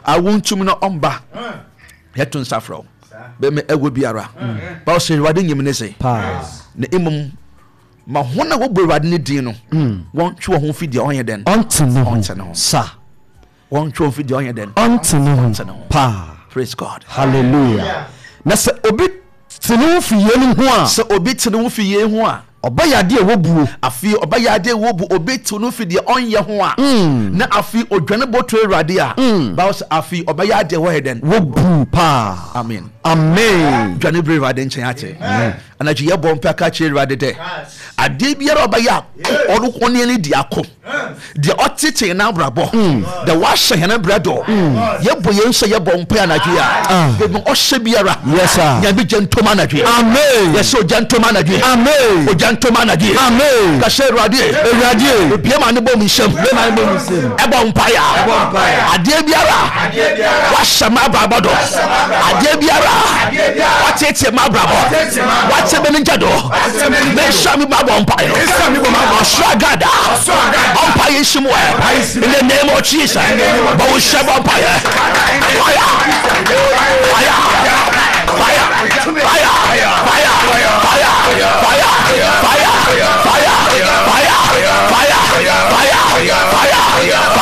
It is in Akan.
Awo ntumi na ɔmba yɛto nsa frɛ wo bɛmɛ ɛwɔ biara ba ɔsɛ Awurade nyim ne se na mmom ma hɔn a wɔbɔ Awurade ne din no wɔntwe wɔn ho fi deɛ ɔnyɛ dɛn ɔnte ne ho sa wɔntwe wɔn fi deɛ ɔnyɛ dɛn ɔnte ne ho paa. Praise God. Hallelujah. Na sɛ obi te ne ho fi yeinom ho a. Sɛ obi te ne ho fi yei ho a. Ɔbɛyɛ adeɛ a ɛwɔ buo. Afei ɔbɛyɛ adeɛ a ɛwɔ buo. Obi te ne ho fi deɛ ɔnyɛ ho a. Na afei odwane bɔto Awurade a. Bible sɛ afei ɔbɛyɛ adeɛ a ɛwɔ yɛ dɛn? Wɔ buo paa. Amen. Amen. Dwane bere Awurade nkyɛn ate. Anadwo yɛbɔ mpae ka kyerɛ Awurade dɛ adeɛ biara a ɔbɛyɛ a ɔno ɔne yɛn di ako. Deɛ ɔtete yɛn abrabɔ, deɛ wahyɛ yɛn brɛ do. Yɛbɔ yɛn nsa yɛbɔ mpae anadwo yi a, baabi ɔhyɛ biara, Nyame gya ntom anadwo yi. Yɛsɛ ogya ntom anadwo yi. Ogya ntom anadwo yi. Ka sɛ Awurade, ebie ma ne bɔ mu nsam. Ɛbɔ mpae a, adeɛ biara wahyɛ m'abrabɔ do, adeɛ biara wateetee m'abrabɔ, wate me ne gya do, menhyɛ me mabɔ mpae no. Ɔsoro agada, ɔmpae nsi mu ɛ. In the name of Jesus, bɔ wo hyɛ bɔ mpaeɛ. Fire, fire, fire, fire, fire, fire, fire, fire, fire, fire, fire, fire, fire, fire.